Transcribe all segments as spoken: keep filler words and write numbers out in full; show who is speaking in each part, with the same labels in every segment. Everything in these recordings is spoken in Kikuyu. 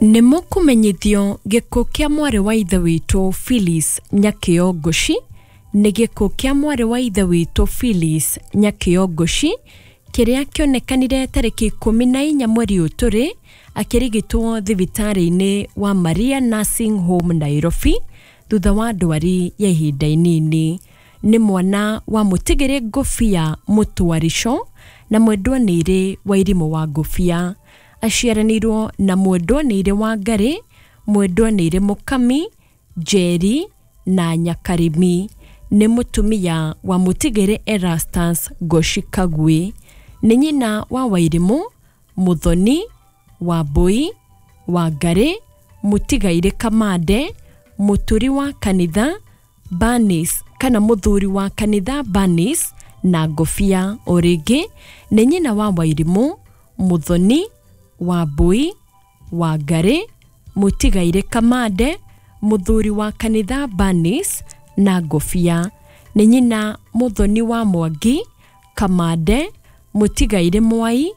Speaker 1: Nĩ mũkũmenyithio gĩkuũ kĩa mwarĩ wa ithe witũ Phyllis Nyakĩo Ngũci. Nĩ gĩkuũ kĩa mwarĩ wa ithe witũ Phyllis Nyakĩo Ngũci kĩrĩa kĩonekanire tarĩki ikũmi na inya mweri ũyũ tũrĩ akĩrigitwo thibitarĩ-inĩ wa Maria Nursing Home Nairobi thutha wa ndwari ya ihinda inini. Nĩ mwana wa mũtigĩrĩ Ngũbia Mũtwarico na mwendwa nĩirĩ wa Irimũ wa Ngũbia. Aciaranĩirwo na mwendwa nĩirĩ wa Ngarĩ, mwendwa nĩirĩ Mũkami, Njeri na Nyakarĩmi. Nĩ mũtumia wa mũtigĩrĩ Erastus Ngoci Kagui. Nĩ nyina wa Wairimũ, Mũthoni, Wambui, Wangarĩ, Mũtigairĩ Kamande, Mũturi wa kanitha Bernice kana mũthuri wa kanitha Bernice na Ngũbia. O rĩngĩ nĩ nyina wa Wairimũ, Mũthoni, Wambui, Wangarĩ, Mũtigairĩ Kamande, mũthuri wa kanitha Bernice na Ngũbia. Nĩ nyina Mũthoni wa Mwangi, Kamande, Mũtigairĩ Mwai,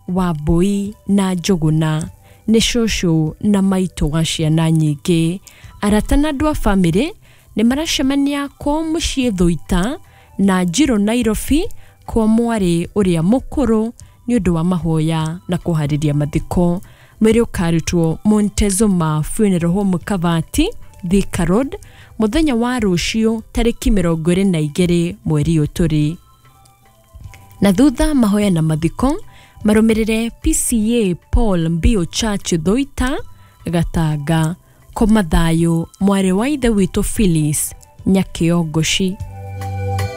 Speaker 1: Wambui na Njũgũna. Nĩ cũcũ na maitũ wa ciana nyingĩ. Arata na andũ a bamĩrĩ nĩ maracemania kwao mũciĩ Thũita na Njirũ Nairobi kwa mwarĩ ũrĩa mũkũrũ nĩ ũndũ wa mahoya na kũharĩria mathiko. Mwĩrĩ ũkarutwo Montezuma Funeral Home Kavati, Thika Road mũthenya wa rũciũ tarĩki mĩrongo ĩrĩ na igĩrĩ mweri ũyũ tũrĩ. Na thutha mahoya na mathiko marũmĩrĩre P C A Paul Mbio Church Thũita Gatanga. Koma thayũ mwarĩ wa ithe witũ Phyllis Nyakĩo Ngũci.